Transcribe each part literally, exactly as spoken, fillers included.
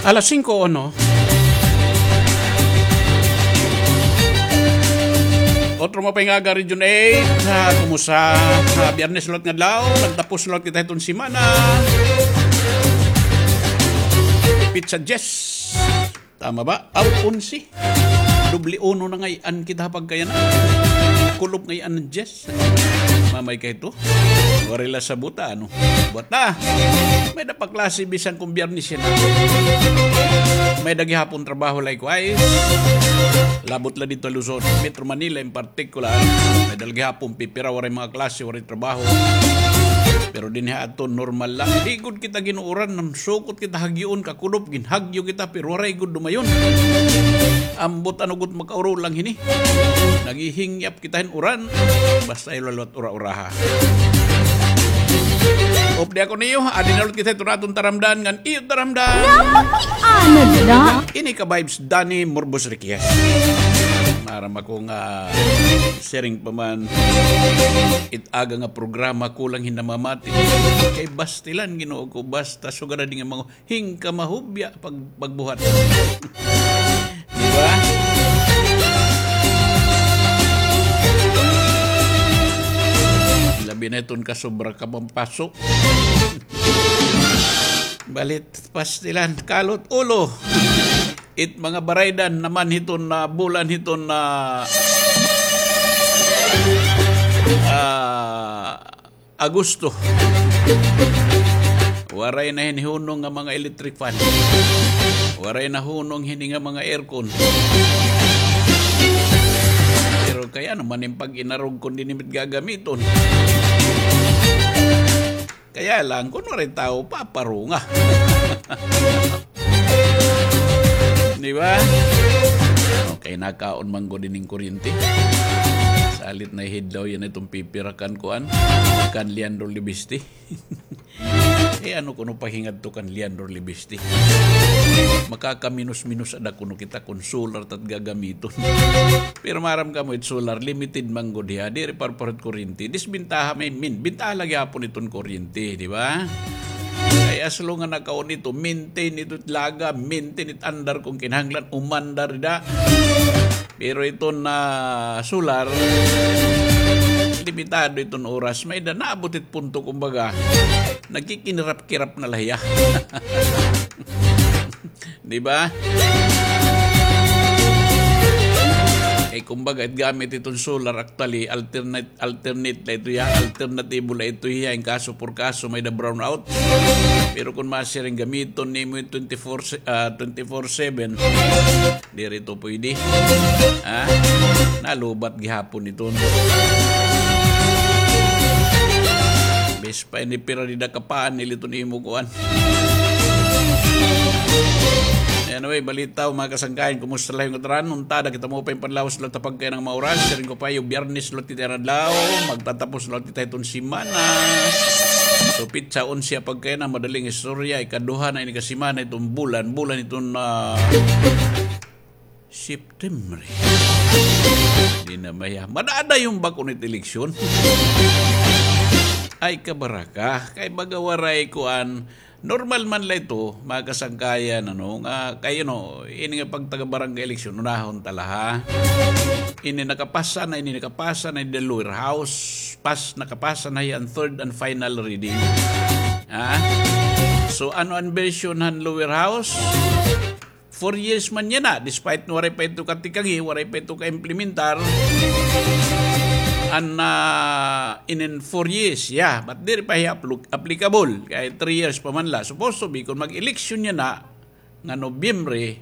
Alas singko uno. Otro maupay nga aga, Region eight. Ah, kumusta? Ah, Biyernes liwat nga adlaw. Nagtapos liwat kita hiton semana. Petsa diyes. Tama ba? Aw, onse. Doble uno na ngay-an kita ha pagkayana. Kulop ngay-an an diyes. Mamay kay ito. Waray la sabot, ano. Buhat na. May-ada pa klase bisan kon Biyernes yana. May-ada gihapon trabaho, likewise. Labot la didto ha Luzon. Metro Manila in particular. May-ada la gihapon pipira, waray mga klase, waray trabaho. Pero dinhi ha aton, normal la. Di gud kita ginuuran, nagsukot kita hagyoon, kakulop, ginhagyo kita, pero waray gud dumayon. Ambot ano gud makauro lang hini. Naghihingyap kita hin uran. Basta ayaw la liwat ura-uraha. Updi ako niyo, adi na liwat kita hiton aton taramdan ngan iyo taramdan. Napakiana na. Ini ka vibes, Danny Morbos Riquez. Maaram ako nga siring pa man it aga nga programa, kulang hin namamati. Kay bastilan, Ginoo ko, basta sugad na dinhi nga mga hingkamahubya pag-, pagbuhat. Di ba? Labi na iton kasobra ka pampaso. Balit, pastilan, kalot ulo. It mga baraydan naman hiton na bulan hiton na, ah, Agosto. Waray na hini hunong nga mga electric fan. Waray na hunong hini nga mga aircon. Pero kay ano man in pag-inarog kon diri na it gagamiton. Kaya lang, kon waray tawo, paparunga. Di ba? Okay, nakaon man gud ining kuryente. Salit na hidlaw yana iton pipira kan kuan, kan Leandro Libiste. Eh, ano kuno paghingadto kan Leandro Libiste? Makakaminos-minos ada kuno kita kon solar it at gagamiton. Pero maaram kamo, it solar, limited man gud hiya. Diri pareho hit kuryente. Disbentaha, may min-, bentaha la gihapon iton kuryente, di ba? Kay as long nga nakaon ito, maintain ito it laga, maintain it andar kon kinahanglan, umandar dida. Pero iton, ah, solar, limitado iton oras. May-ada naabot it punto, kumbaga, nagkikinirap-kirap na la hiya. Di ba? Eh, kumbaga, it gamit iton solar, actually, alternate, alternate la ito hiya, alternatibo la ito hiya, in kaso por kaso, may-ada brownout. Pero kon masiring, gamiton nimo it twenty-four se-, ah, twenty-four seven, diri ito pwede. Ha? Nalubat gihapon iton. Bis pa ini pira dida ka panel iton imo kuan. Anyway, balita, mga kasangkayan, kumusta la hiyo ngatanan? Unta, ada kita maupay nga panlawas la ha pagkayana nga mga oras. Siring ko pa, iyo, Biyernes liwat kita yana adlaw, magtatapos liwat kita hiton semana. So, petsa onse ha pagkayana, madaling istorya, ikaduha na ini ka semana hiton bulan, bulan hiton, ah, September. Di na maya. Madadayon ba kuno it eleksyon? Ay, kabaraka. Kay baga waray kuan. Normal man la ito, mga kasangkayan, ano, nga, kay, you know, ini nga pagtaga-barangay eleksyon, unahon ta la, ha? Ini nakapasa na, ini nakapasa na, the lower house, pas, nakapasa na hiya an third and final reading. Ha? So, ano an version han lower house? Four years man yana, despite nga waray pa ito katikanghi, waray pa ito ka-implementar. An, ah, inin four years, yeah, but diri pa hiya aplu-, applicable. Kay three years pa man la. Supposed to be, kon mag-eleksyon yana nga Nobyembre,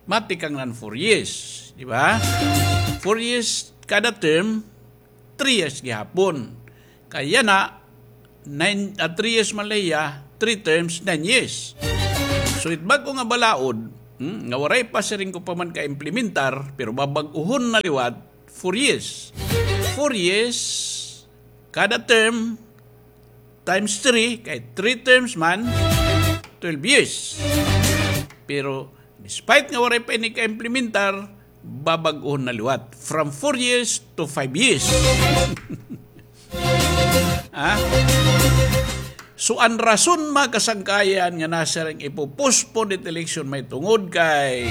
matikang na an four years, di ba? Four years kada term, three years gihapon. Kay yana, nine, ah, three years man la hiya, three terms, nine years. So, it bag-o nga balaod, hmm, nga waray pa siring ko pa man ka-implementar, pero babag-ohon na liwat, four years. Four years, kada term, times three, kay three terms man, twelve years. Pero, despite nga waray pa ini ka-implementar, babag-ohon na liwat. From four years to five years. Ha? So, an rason, mga kasangkayan, nga nasiring ipo-postpone it election mahitungod kay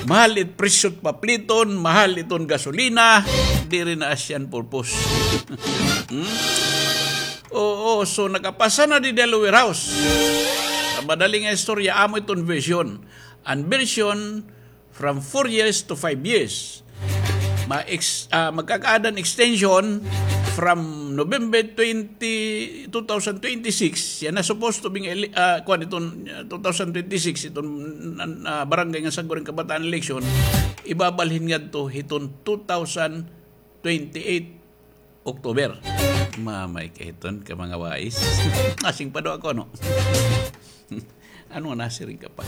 mahal it presyo hit papliton, mahal iton gasolina, diri na asya an purpose. Hmm? Oo, so nakapasa na didi ha lower house. Sa madali nga istorya, amo iton version. An version, from four years to five years. Ma-ex-, ah, magkakaada hin extension from November twenty, two thousand twenty-six, yana supposed to be nga ele-, ah, kuan iton, ah, two thousand twenty-six, iton, ah, barangay ngan Sangguniang Kabataan election, ibabalhin ngadto hiton two thousand twenty-eight October. Mamay ka hiton ka mga wais. Asing pa daw ako, no? Ano nga nasiring ka pa?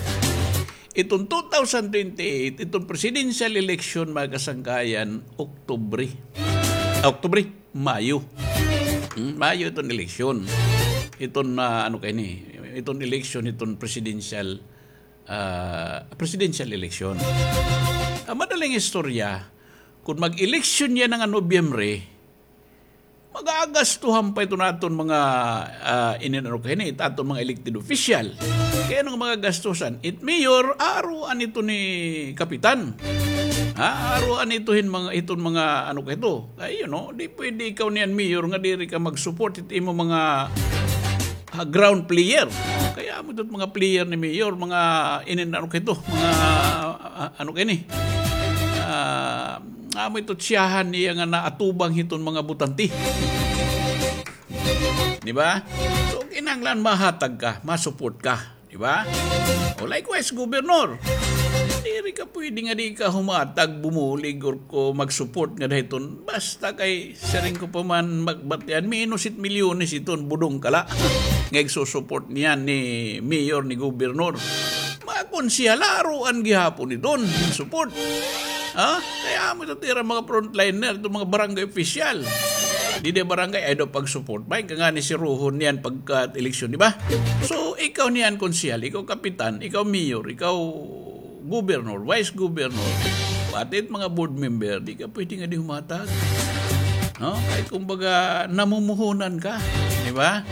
Iton two thousand twenty-eight, iton presidential election, mga kasangkayan, Oktubre. Ah, Oktubre, Mayo. Hmm, Mayo iton election. Iton, ah, ano kay ni? Iton election, iton presidential, ah, presidential election. Ang madaling istorya, kung mag-election yana nga Nobyembre, magagastuhan pa iton aton mga, ah, inin-, ano kay ni, it aton mga elected official. Kay ano nga magagastusan? It mayor, aruan ito ni kapitan. Ha? Aruan ito hin mga, iton mga, ano kay ito. Kay, you know, di pwede ikaw niyan mayor nga diri ka mag-support it imo mga, ah, ground player. Kay amo ito mga player ni mayor, mga inin-, ano kay ito, mga, ah, ano kay ni? Ah, amo ito tiyahan niya nga naatubang hiton mga botante. Di ba? So, kinahanglan mahatag ka, ma-support ka. Di ba? O likewise, gobernador. Diri ka pwede nga di ka humatag, bumulig, or ko mag-support nga dahiton. Basta kay, siring ko pa man, magbatian, minus it milyones iton, budong ka la. Nga igsusupport niyan ni mayor, ni gobernador. Mga konsehal, aruan gihapon iton, support. Ha? Kay amo ito it ira mga frontliner, iton mga barangay official. Didi barangay, ay daw pag-support. May ka nga ni siruhon niyan pagka-eleksyon, di ba? So, ikaw niyan konsehal, ikaw kapitan, ikaw mayor, ikaw gobernador, vice gobernador, pati it mga board member, di ka pwede nga di humatag. No? Kay kumbaga, namumuhunan ka, di ba?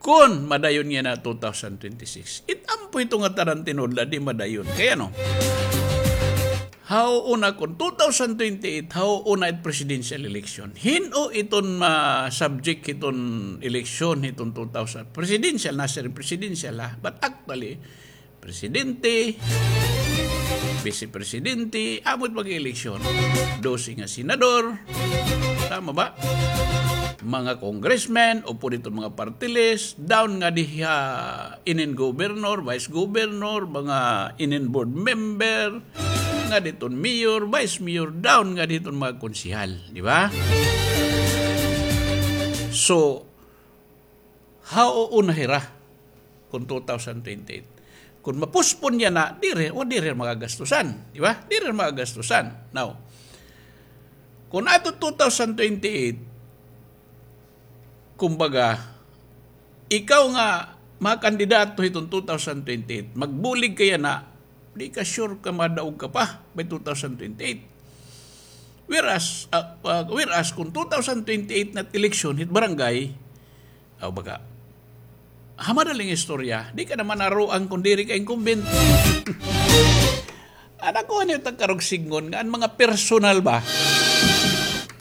Kon madayon yana two thousand twenty-six. It ampo ito nga tanan tinudla, di madayon. Kay ano? Hauuna kon two thousand twenty-eight, hauuna it presidential election. Hin-o iton ma-subject hiton eleksyon hiton two thousand? Presidential, nasiring presidential, ha? But actually, presidente, vice presidente, amo it mag-eleksyon. Dose nga senador, tama ba? Mga congressmen, upod iton mga party list, down ngadi ha inin gobernador, vice gobernador, mga inin board member, ngadi iton mayor, vice mayor, down ngadi iton mga konsehal, di ba? So, hauuna hira kon two thousand twenty-eight. Kon ma-postpone yana, diri, wa, diri magagastusan, di ba? Diri magagastusan. Now, kon ato two thousand twenty-eight, kumbaga, ikaw nga mga kandidato hiton two thousand twenty-eight, magbulig ka yana, di ka sure ka madaog ka pa by two thousand twenty-eight. Whereas, ah, ah, whereas kon two thousand twenty-eight na it eleksyon hit barangay, aw, baga, ha madaling istorya, di ka naman aruan kon diri ka incumbent. Ada ko ano it karuyag sidngon nga an mga personal ba?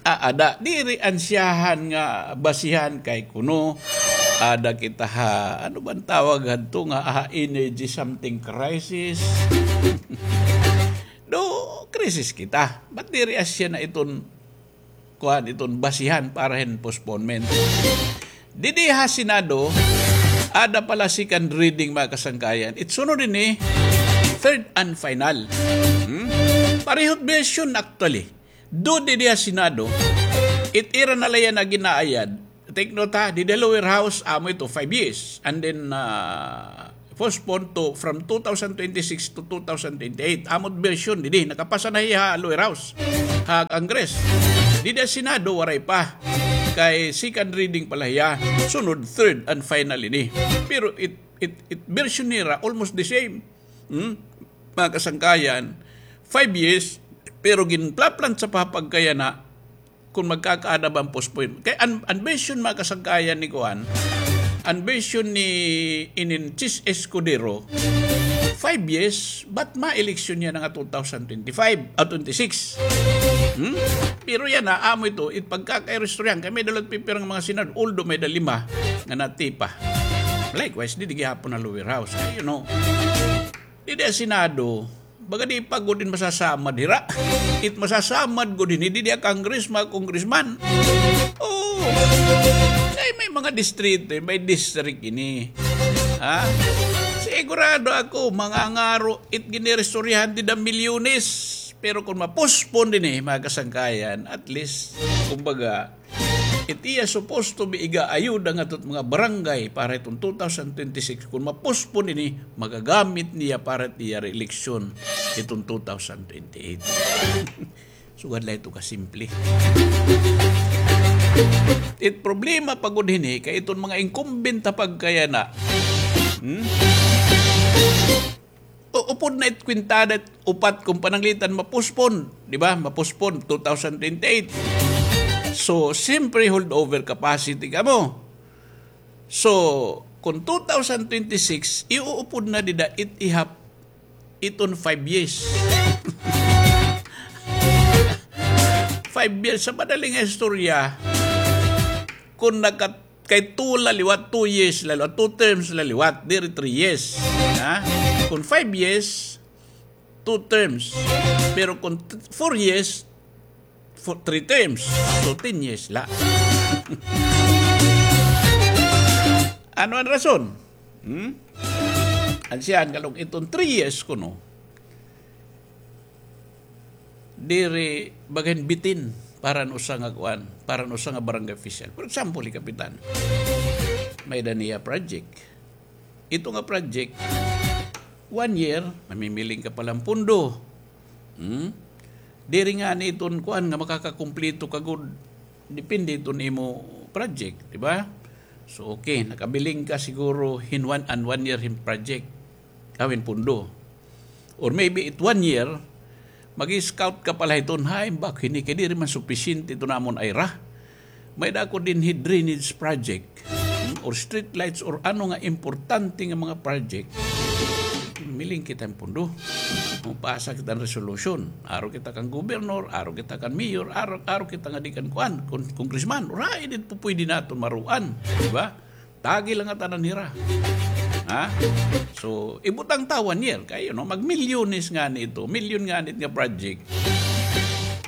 Ah, ada, diri an siyahan nga basihan kay kuno, ada kita ha, ano ba an tawag hadto nga, ah, energy something crisis? Do, krisis kita. But diri asya na iton kuan, iton basihan para hin postponement. Didi ha Senado, ada pa la second reading, mga kasangkayan. It sunod ini, third and final. Hmm? Pareho it version, actually. Do didi ha Senado, it ira na la yana ginaayad. Take note, ha, didi ha lower house, amo ito, five years. And then, ah, postpone to from two thousand twenty-six to two thousand twenty-eight. Amo it version didi, nakapasa na hiya ha lower house, ha Congress. Didi ha Senado, waray pa. Kay second reading pa la hiya. Sunod, third and final ini. Pero it, it, it version nira, almost the same. Hmm? Mga kasangkayan, five years, pero ginplaplantsa pa pagkayana, kon magkakaada ba an postpone. Kay an, an version, mga kasangkayan, ni kuan, an version ni inin Chiz Escudero, five years, but ma-election yana nga two thousand twenty-five, ah, twenty-six. Hmm? Pero yana, amo ito, it pagkakairistoryahan, kay may-ada la it pipira nga mga Senado, although may-ada lima nga natipa. Likewise, didi gihapon ha lower house. Kay, you know, didi ha Senado, baga di pa gud in masasamad hira. It masasamad gud hini, didi ha Congress, mga congressman. Oo. Kay may mga distrito, may district ini. Ha? Sigurado ako, mangangaro, it giniristoryahan dida milyones. Pero kon ma-postpone dinhi, mga kasangkayan, at least, kumbaga, it iya supposed to be igaayuda ngadto hit mga barangay para hiton two thousand twenty-six, kon ma-postpone ini, magagamit niya para hit iya re-election hiton two thousand twenty-eight. Sugad la ito kasimple. It problema pa gud hini, kay iton mga incumbent ha pagkayana. Hmm? O, upod na it kwintada, upat kon pananglitan ma-postpone, di ba? Ma-postpone two thousand twenty-eight. So, siyempre, holdover capacity kamo. So, kon two thousand twenty-six, iuupod na dida it ihap iton five years. Five years, sa madaling istorya, kon naka-, kay two la liwat, two years la liwat, two terms la liwat, diri three years. Ha? Kon five years, two terms. Pero kon t-, four years, fo-, three terms. So, ten years la. Ano an rason? Hmm? An siya, an kalong iton three years kuno. Diri baga hin bitin para han usa nga kuan, para han usa nga barangay official. For example, hi kapitan, may-ada niya project. Ito nga project, one year, mamimiling ka pa la hin pondo. Hmm? Diri ngani iton kuan nga makakakumpleto ka gud, depende iton imo project, di ba? So, okay, nakabiling ka siguro hin one, an one year hin project, aw hin pondo. Or maybe it one year, mag-scout ka pa la hiton, hay, bak hini kay diri man supisyente iton amon ayra. May-ada ako dinhi drainage project, hmm, or street lights, or ano nga importante nga mga project. Miling kita hin pondo. Mopasa kita hin resolution. Aro kita kan gobernador, aro kita kan mayor, aro, aro kita ngadi kan kuan, kon-, congressman. Ura, ini it pupuydi naton maruan, di ba? Tagi la ngatanan hira. Ha? So, ibutang ta one year. Kay, you know, magmilyones ngani ito. Milyon ngani it nga project.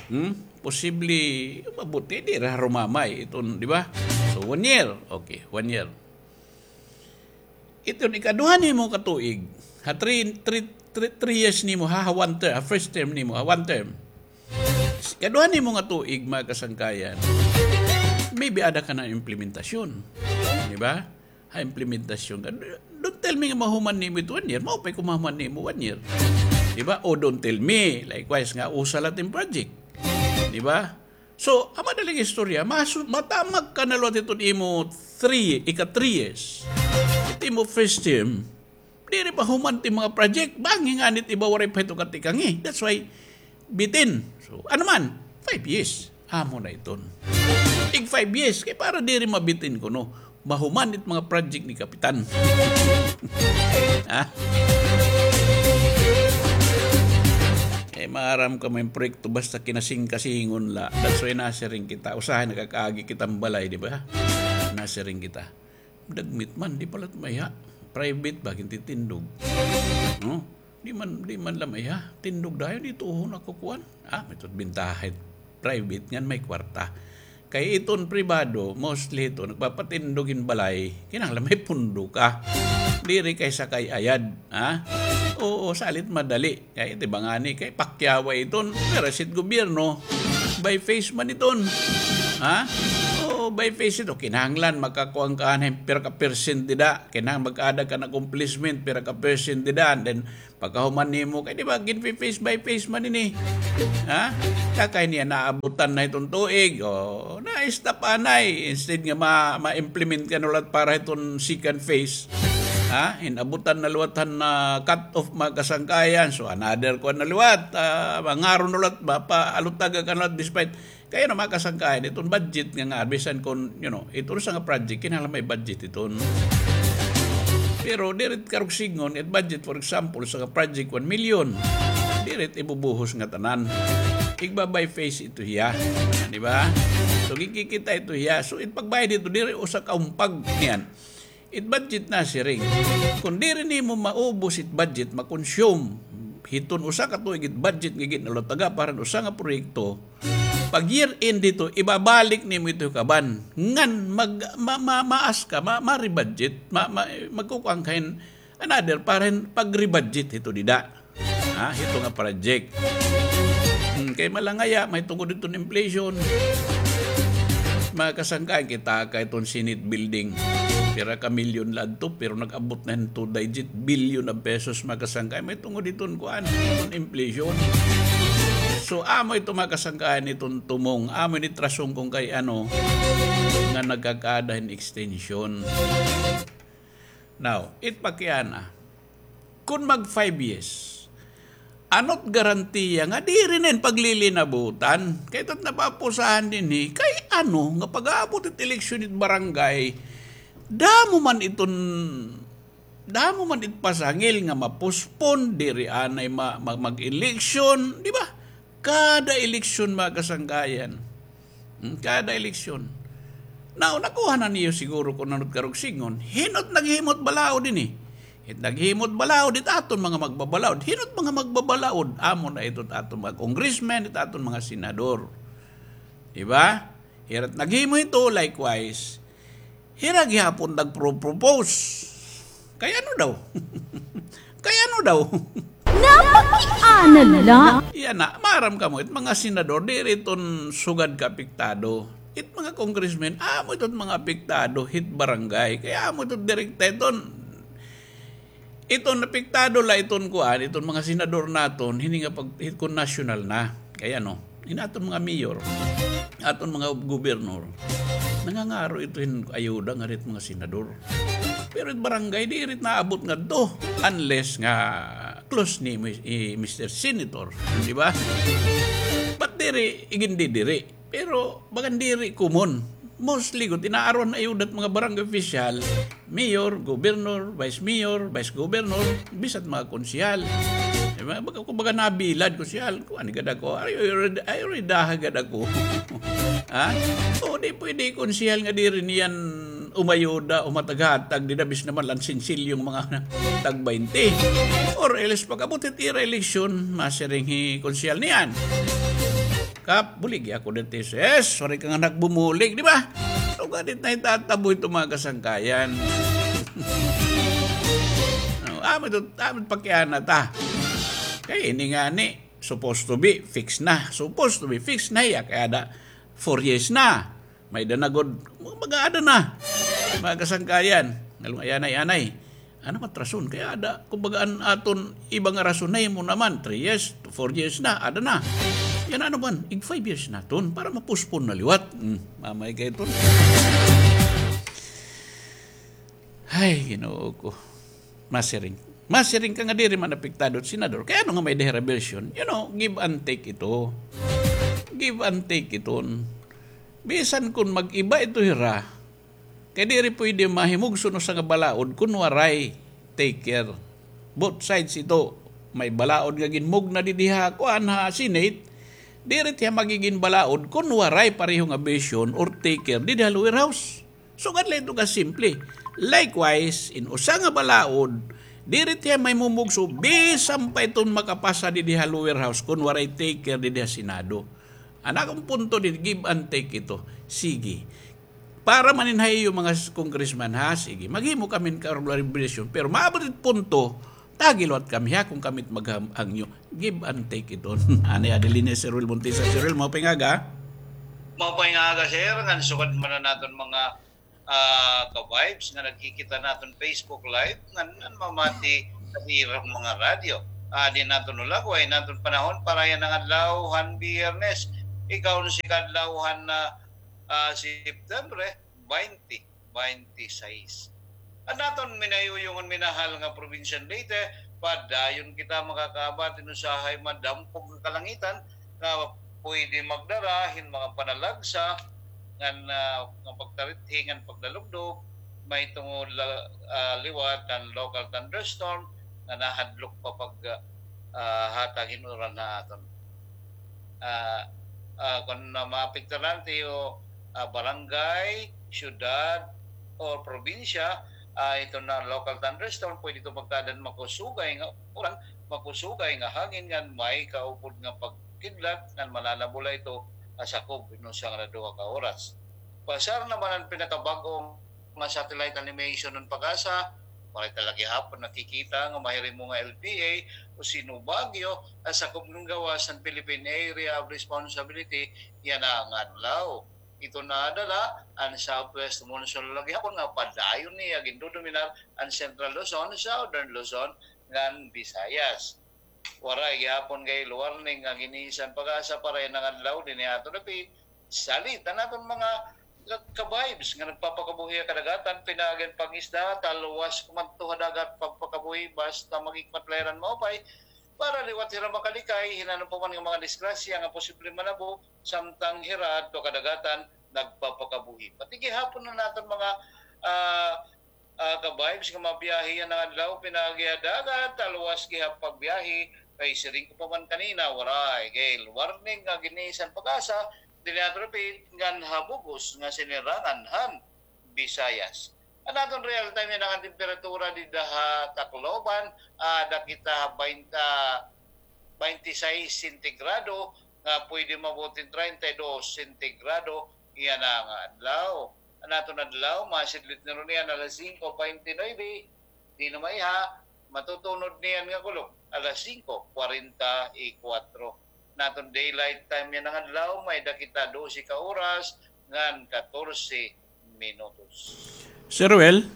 Hmm? Posible, mabuti, diri harumamay iton, di ba? So, one year. Okay, one year. Iton ikaduha nimo ka tuig. Ha three, three, three, three years nimo, ha, ha one term, ha first term nimo, ha one term. Ikaduha nimo nga tuig, mga kasangkayan, maybe ada ka na implementasyon. Di ba? Ha implementasyon ka. Don't tell me nga mahuman nimo it one year. Maupay kon mahuman nimo one year. Di ba? O don't tell me, likewise, nga usa la it im project. Di ba? So, ha madaling istorya, masu-, matamag ka na liwat hiton imo three, ika three years. It imo first term, diri pa human it mga project, bangin ngani it iba waray pa hito katikangi. That's why, bitin. So, ano man, five years. Amo na iton. Ig five years, kay para diri mabitin kuno. Mahuman it mga project ni Kapitan. Ha? Eh, maaram ka, may proyekto basta kinasingkasingon la. That's why nasiring kita. Usahay nakakaagi kita hin balay, di ba? Nasiring kita. Dagmit man, di pa la it maiha. Private ba, gintitindog. No? Di man, di man la maiha. Tindog dayon, didto ho nakakuan. Ah, may tuod bintaha it private ngan may kwarta. Kay iton pribado, mostly ito, nagpapatindog hin balay, kinahanglan may pundo ka. Diri kay sakay ayad, ha? Oo, salit madali. Kay iti ba ngani, kay pakyaway iton, pero sit gobyerno, by phase man iton. Ha? Oo, by phase ito. Kinahanglan, makakuan ka hin pira ka percent dida. Kinahanglan mag-ada ka hin accomplishment, pira ka percent dida. And then, pagkahuman nimo, kay di ba, gin-phase by phase man ini. Ha? Kay niya naabutan na iton tuig, o, na-stop anay. Instead nga ma-, ma-implement ka na liwat para iton second phase. Ha? Inabutan na liwat han, ah, cut off mga kasangkayan. So, another kuan na liwat, ah, mangaro na liwat, mapaalutaga ka na liwat despite Kay ano, mga kasangkayan, iton budget nga, nga bisan kon, you know, iton usa nga project, kinahanglan may budget iton. Pero diri it karuyag sidngon, it budget, for example, usa nga project, one million, diri it ibubuhos nga tanan. Igba-by phase ito hiya. Di ba? So, gikikita ito hiya. So, it pagbayad ito, diri usa ka umpag niyan. It budget na siring. Kon diri nimo maubos it budget, ma-consume hiton usa ka tuig it budget nga gin-allot-a para han usa nga proyekto, pag year end hito, ibabalik nimo ito kaban. Ngan mag, ma, ma, maas ka, ma, ma-rebudget, ma, ma, magkukuan ka hin another para hin pag-rebudget hito dida. Ha, hito nga project. Hmm, kay malangaya, mahitungod iton inflation. Mga kasangkayan, kita kay iton Senate building. Pira ka milyon la adto, pero nag-abot na hin two digit billion of pesos, mga kasangkayan. Mahitungod iton kuan, iton inflation. So, amo ito, mga kasangkayan, iton tumong, amo ini it rason kon kay ano, nga nagkakaada hin extension. Now, it pakiana, kon mag five years, ano it garantiya nga diri na ini paglilinabutan? Kay ito it napapusahan dinhi, kay ano nga pag-aabot it eleksyon it barangay, damo man iton, damo man it pasangil nga ma-postpone, diri anay ma, ma, mag-eleksyon, di ba? Kada eleksyon, mga kasangkayan. Hmm, kada eleksyon. Now, nakuha na niyo siguro kon ano it karuyag sidngon. Hin-o it naghimo hit balaod ini? It naghimo hit balaod, it aton mga magbabalaod. Hin-o it mga magbabalaod? Amo na ito it aton mga congressman, it aton mga senador. Di ba? Hira it naghimo hito, likewise. Hira gihapon nagpro-propose. Kay ano daw? Kay ano daw? Napakiana la. Yana, maaram kamo, it mga senador, diri iton sugad ka apektado. It mga congressmen, amo iton mga apektado hit barangay. Kay amo iton direkta iton. Iton apektado la iton kuan, iton mga senador naton, hini nga pag, hit kon nasyonal na. Kay ano, hin aton mga mayor, aton mga gobernor, nangangaro ito hin ayuda ngada hit mga senador. Pero it barangay, diri it naabot ngadto. Unless nga close ni Mis-, eh, Mister Senator, di ba? But diri, igindidiri. Pero bagan diri common. Mostly gud, inaaron na ayuda it mga barangay official, mayor, governor, vice mayor, vice governor, bisan mga konsehal. Di ba? Baga, kumbaga nabilad, konsehal, kuan gad ako, ay, ay, ay, ay, daha gad ako. Ha? O, di pwede konsehal nga diri niyan umayuda o mataghatag, dida bisan man la hin sinsilyo nga mga tag baynte. Or else, pag-abot hit ira eleksyon, masiring hi konsehal niyan. Kap, buligi ako dito, sis. Sorry ka nga nagbumulig, di ba? So, ganit na itatabo ito, mga kasangkayan. No, amo ito, amo ito pakiana ta. Kay ini ngani, supposed to be, fix na. Supposed to be, fix na, iya, kay ada, four years na. May-ada na gud, mag-aada na. Mga kasangkayan, ngalung ayanay-anay. Ano man rason? Kay ada, kumbaga, an aton iba nga rason, nahimo naman, three years, to four years na, ada na. Yana naman, ig five years naton, para ma-postpone na liwat. Hmm, mamay kay iton. Ay, Ginoo ko. Masiring. Masiring ka nga diri man apektado it senador. Kay ano nga may-ada hira version? You know, give and take ito. Give and take iton. Bisan kon mag-iba ito hira, kay diri pwede mahimugso hin usa nga balaod kon waray taker. Both sides ito. May balaod nga ginmugna didi ha kuan ha Senate, diri it hiya magigin balaod kon waray pareho nga version or taker didi ha lower house. Sugad la ito kasimple. Likewise, in usa nga balaod, diri it hiya mahimugso bisan pa iton makapasa didi ha lower house kon waray taker didi ha Senado. An akon punto didi, give and take ito. Sige. Para man in ha iyo mga s-, congressman, ha, sige. Maghimo kami hin karugalan revision. Pero maabot it punto, tagi liwat kami, ha, kon kami it maghangyo. Give and take ito. Anay Adelina, Sir Will Montesa. Sir Will, maupay nga aga. Maupay nga aga, sir. Ngan sugad man an aton mga, ah, ka-vibes nga nagkikita naton Facebook Live, ngan, ngan mamati sa irang mga radyo. Ah, di naton ulagway an aton panahon para yana nga adlaw han Biyernes, ika-onse ka adlaw han, ah, ah, September, baynte baynte sais. An aton minayuyong ngan minahal nga probinsyang Leyte, padayon kita makakaabat hin usahay madampog nga kalangitan nga pwede magdara hin mga panalagsa ngan, ah, nga pagtarithi ngan pagdalugdog, mahitungod la, ah, liwat kan local thunderstorm nga nahadlok pa pag, ah, hatag hin uran ha aton. Ah, ah, kon na maapektaran tiyo, ah, barangay, syudad, o probinsya, ah, ito na local thunderstorm, pwede ito magkaadan makusugay nga uran, makusugay nga hangin ngan may kaupod nga pagkidlat ngan mananabula ito, ah, sakob hin usa ngan duha ka oras. Basar naman an pinakabag-o nga satellite animation han PAGASA, waray ta la gihapon nakikita nga mahirimo nga L P A o Sino Baguio an sakob ngan gawas han Philippine Area of Responsibility yana nga adlaw. Ito na adala an southwest monsoon la gihapon nga padayon niya gindodominar an Central Luzon, Southern Luzon, ngan Visayas. Waray gihapon kay warning nga ginisan PAGASA para yana nga adlaw dinhi ha aton dapit. Salit an aton mga ka-, ka-vibes nga nagpapakabuhi ha kadagatan, pinaagi an pangisda, talwas kumadto ha dagat pagpakabuhi, basta mag-ikmat la hira hin maupay, para liwat hira makalikay hin ano pa man nga mga disgrasya nga posible manabo, samtang hira adto ha kadagatan nagpapakabuhi. Pati gihapon an aton mga, ah, ah, ka-vibes nga mabiyahe yana nga adlaw, pinaagi ha dagat, talwas gihap pagbiyahe, kay siring ko pa man kanina, waray kay warning nga ginisan PAGASA dinhi ha aton dapit ngan ha bug-os nga sinirangan han Visayas. An aton real time yana nga temperatura dida ha Tacloban, ah, aada kita ha baynte, baynte sais sentigrado, nga pwede maabot hin treinta y dos sentigrado yana nga adlaw. An aton adlaw, masidlit na runo niyan alas singko baynte nuebe, dinhi na maiha, matutunod niyan nga kulop, alas singko kwarenta y kuwatro. An aton daylight time yana nga adlaw, may-ada kita dose ka oras ngan katorse minutos. Sir Well?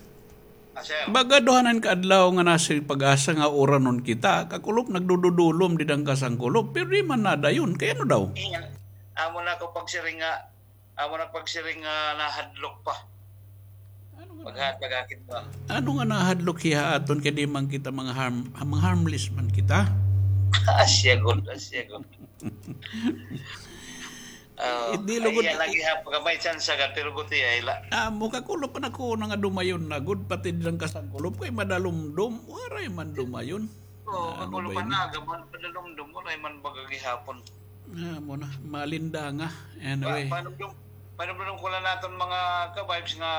Ah, sir. Baga duha na an kaadlaw nga nasiring PAGASA nga uranon kita. Kakulop nagdududulom dida han kasangkulop. Pero di man nadayon. Kay ano daw? Iyan. Amo na ako pagsiring nga, amo na pagsiring nga nahadlok pa. Ano nga Paghatag akit pa. Ano nga nahadlok hiya ha aton kay di man kita mga harm-, mga harmless man kita? Asya gud, asya gud. Oh, di lugod ay, lagi ha, pagka may tsansa ka, pero guti ay la. Ah, mo kakulop pa na ko na nga dumayon na gud, pati dida han kasangkulop, kay madalumdom, waray man dumayon. Oo, ah, ano kakulop ba pa yun? Na, gaman, madalumdom, waray man baga gihapon. Ah, mo na, malinda nga. Anyway. Pa-, paano yung, paano yung kula naton mga ka-vibes nga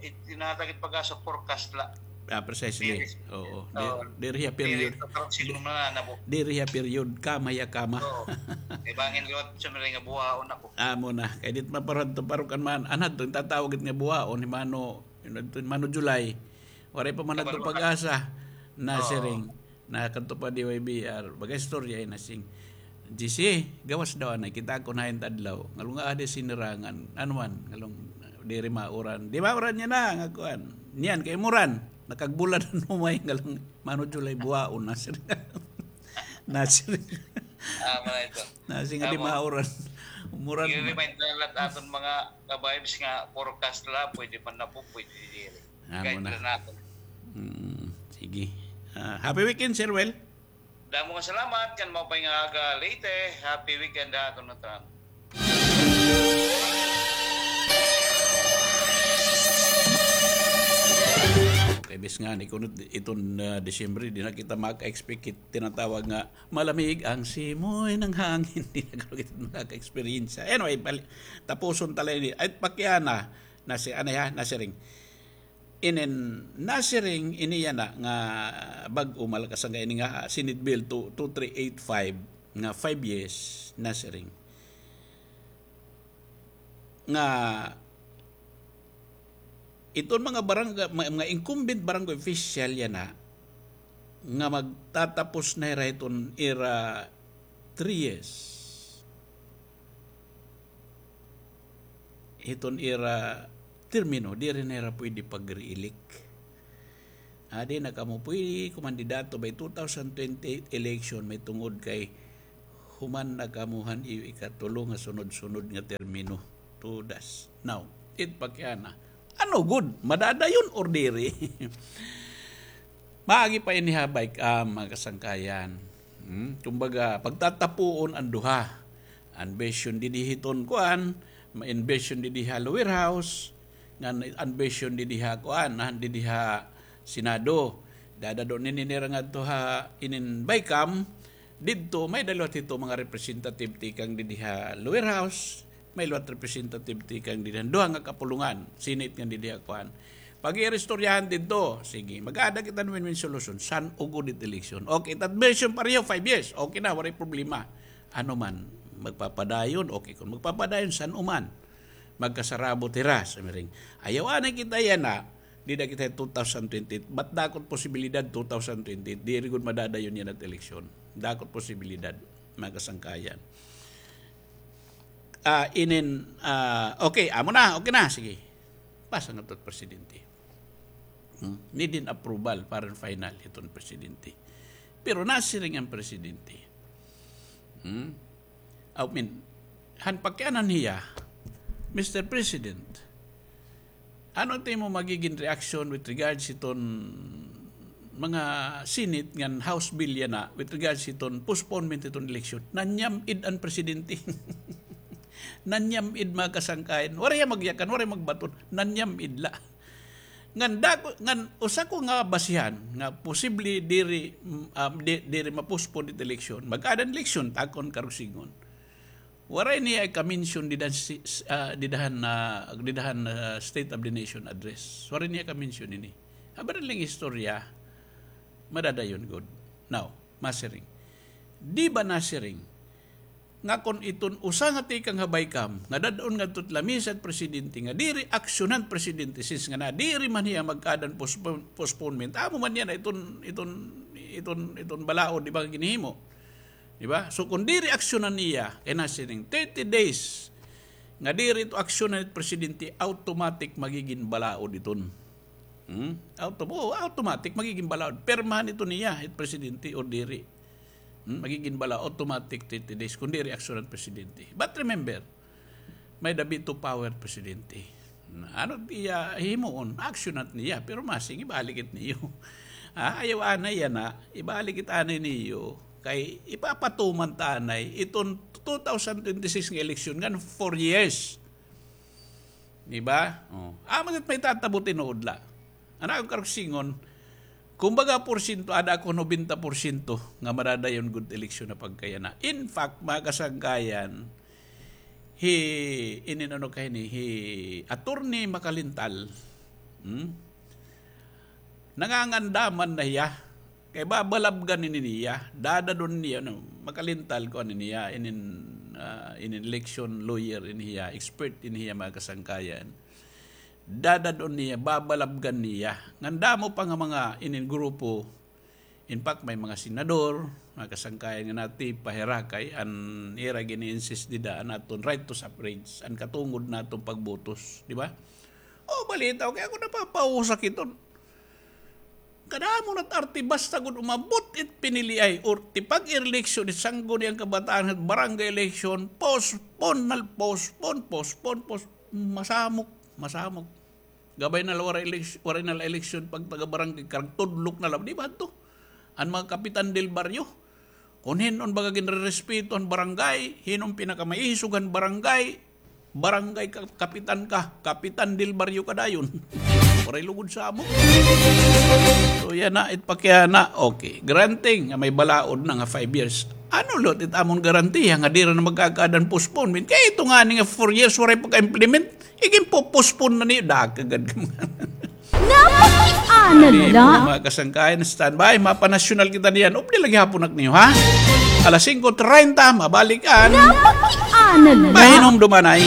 it-, tinahatag it PAGASA forecast la? Ah, precisely. Diri. Oo. Oo. Di-, diri hiya period. Diri, kakarong siguro na na po. Diri hiya period. Kama hiya kama. Oo. Kay bangin liwat siya nga buwaon ako. Amo na. Kay dit maparad to parukan man. Anad to, tatawag it nga buwaon, ni Mano, yun, ni Mano July. Waray pa man adto PAGASA. Nasiring. Oo. Na kadto pa D Y B R, baga istorya, eh, nasing, G C, gawas daw anay, kita ko na hain ta adlaw. Ngalong aadi sinirangan, ano man, ngalong diri mauran. Di mauran niya na, nga kuan. Niyan, kay muran, nakagbulad an humay, ngalong Mano July buwaon, nasiring. Nasiring. Ah, mga ito. Nasing, di mauran. Umuran. I-remind na lang aton mga ka-vibes nga forecast la, pwede man na po, pwede diri. Amo na. Guide na naton. Mm, sige. Ah, happy weekend, Sir Well. Damo nga salamat, kan maupay nga aga, Leyte. Happy weekend ha aton nga tanan. Okay, bis nga, ni kunot iton, ah, Disyembre, di na kita maka-expect it, tinatawag nga, malamig ang simoy ng hangin. Di na kita maka-experience. Anyway, bali-, tapuson ta la ini. Ay, pakiana, nasi-, ano ya, nasiring. Inin nasiring ini yana nga bag-o, malakas nga ini nga Senate Bill two, two three eight five nga five years nasiring nga iton mga barangay, mga, mga incumbent barangay official yana nga magtatapos na hira hiton ira three years. Hiton ira termino, diri na hira pwede pag-re-elect. Adi na kamo pwede kumandidato by two thousand twenty-eight election, mahitungod kay human na kamo han iyo ikatulo nga sunod-sunod nga termino. Todas. Now, it pakiana. Ano gud? Madadayon or diri? Maagi pa ini ha, bike, ah, mga kasangkayan. Hmm? Kumbaga, pagtatapuon an duha. An version didi hiton kuan, an version didi ha lower house, ngan an version didi ha kuan, ah, didi ha Senado. Dadad-on ini nira ngadto ha inin BICAM, didto may-ada liwat hito mga representative tikang didi ha lower house, may liwat representative tikang didi han duha nga kapulongan, Senate ngan didi ha kuan. Pag-iistoryahan didto, sige, mag-aada kita hin win-win solution, san-o gud it election. Okay, it version pareho, five years, okay na, waray problema. Ano man, magpapadayon, okay, kon magpapadayon, san-o man. Magkasarabot hira, sa miring. Ayaw anay kita yana, dida kita two thousand twenty-eight. But dako it posibilidad two thousand twenty-eight, diri gud madadayon yana it eleksyon. Dako it posibilidad, mga kasangkayan. Ah, inin, ah, okay, amo na, okay na, sige. Pasa ngadto it presidente. Hmm? Need hin approval para final hiton presidente. Pero nasiring an presidente. Hmm? I mean, han pakianan hiya, Mister President, ano it imo magiging reaction with regards hiton mga Senate ngan House bill yana with regards hiton postponement hiton eleksyon? Nanyam-id an presidente. Nanyam-id, mga kasangkayan. Waray hiya magyakan, waray magbaton. Nanyam-id la. Ngan dako, ngan usa ko nga basihan nga posible diri, mm, um, di, diri ma-postpone it eleksyon. Mag-aada hin eleksyon, takon karuyag sidngon. Waray niya ika-mention dida han si-, s-, ah, dida han, ah, dida han, ah, State of the Nation Address. Waray niya ika-mention ini. Aba na la hin istorya, madadayon gud. Now, masiring. Di ba nasiring nga kon iton usa nga tikang ha BICAM nga dad-on ngadto it lamisa it presidente nga diri aksyonan it presidente, since nga na diri man hiya mag-aada hin postpone-, postponement, amo man yana iton, iton, iton, iton balaod, di ba, ginhimo? Di ba? So, kon diri aksyonan niya, kay nasiring thirty days nga diri ito aksyonan it presidente, automatic magiging balaod iton. Hmm? Auto-, oo, automatic magiging balaod. Pirmahan ito niya, it presidente, o diri. Hmm? Magiging balaod, automatic thirty days, kon diri aksyonan it presidente. But remember, may-ada veto power presidente. Ano it iya himuon? Aksyonan it niya, pero masing ibalik it niyo. Ah, ayaw anay yana, ibalik it anay niyo. Kay ipapatuman ta anay iton two thousand twenty-six nga eleksyon ngan four years. Di ba? Oh. Amo it may tatabo tinuod la. An akon karuyag sidngon, kumbaga porsyento, aada ako nobenta porsyento nga madadayon gud eleksyon ha pagkayana. In fact, mga kasangkayan, hi, inin ano kay ni, hi Attorney Macalintal, hmm? Nangangandaman na hiya. Kay babalabgan ini niya, dadad-on niya, no, Macalintal, kuan ini niya, inin, ah, inin election lawyer ini hiya, expert ini hiya, mga kasangkayan. Dadad-on niya, babalabgan niya. Ngan damo pa nga mga inin grupo, in fact, may mga senador, mga kasangkayan nga natipa hira kay an ira gini-insist dida an aton right to suffrage, an katungod naton pagbotos, di ba? O, balita, okay, ako napapausa kiton. Kadamo na it arte, basta gud umabot it piniliay or tipag-eleksyon it Sangguniang Kabataan, barangay election, postpone na, postpone, postpone, post-, masamok, masamok. Gabay na la waray eleks-, waray na la eleksyon pag taga-barangay, karuyag tudlok na la, di ba adto? An mga kapitan del barrio, kon hin-o an baga ginrerespeto han barangay, hin-o an pinakamaisog han barangay, barangay ka-, kapitan ka, kapitan del barrio ka dayon. Waray lugod sa amo. So, yana, it pakiana, okay. Granting nga may balaod na nga five years. Ano liwat it amon garantiya nga diri na magkakaada hin postponement? Kay ito ngani nga four years, waray pagka-implement. Iginpo-postpone na niyo, dakagad ka mga. Napakiana la. Mga kasangkayan, standby, mapanasyonal kita niyan. Updi la gihapon ak niyo, ha? Alas singko treinta, mabalik an. Napakiana la. Mahinumduman ay.